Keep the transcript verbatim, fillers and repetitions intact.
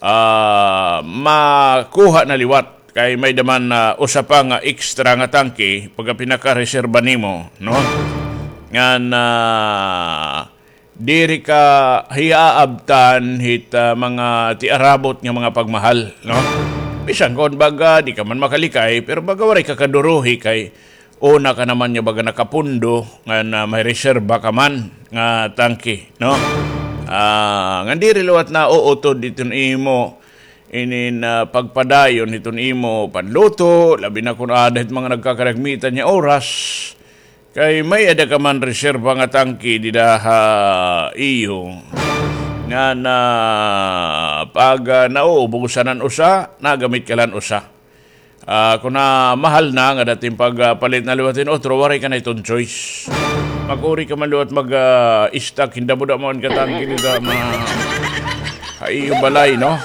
ah, makuha na liwat. Kay may-ada man, ah, usa pa nga extra nga tangke pagka pinakareserba nimo, no? Ngan, ah, diri ka hiaabtan hit, ah, mga tiarabot nga mga pagmahal, no? Bisan kon baga di ka man makalikay, pero baga waray ka kaduruhi kay una ka naman nga baga nakapundo nga na may reserba ka man nga tangke, no? Ah, ngan diri liwat nauutod iton imo inin, ah, pagpadayon hiton imo panluto, labi na kon aada hit mga nagkakaragmitan nga oras. Kay may-ada ka man reserba nga tangke dida ha iyo nga na pag, ah, nauubusan an usa, nagamit ka la han usa. Ah, kon na mahal na nga dating pagpalit na liwat hin otro, waray ka na iton choice. Makuri ka man liwat mag, ah, stock hin damo-damo nga tangke dida ma-, ha iyo balay, no?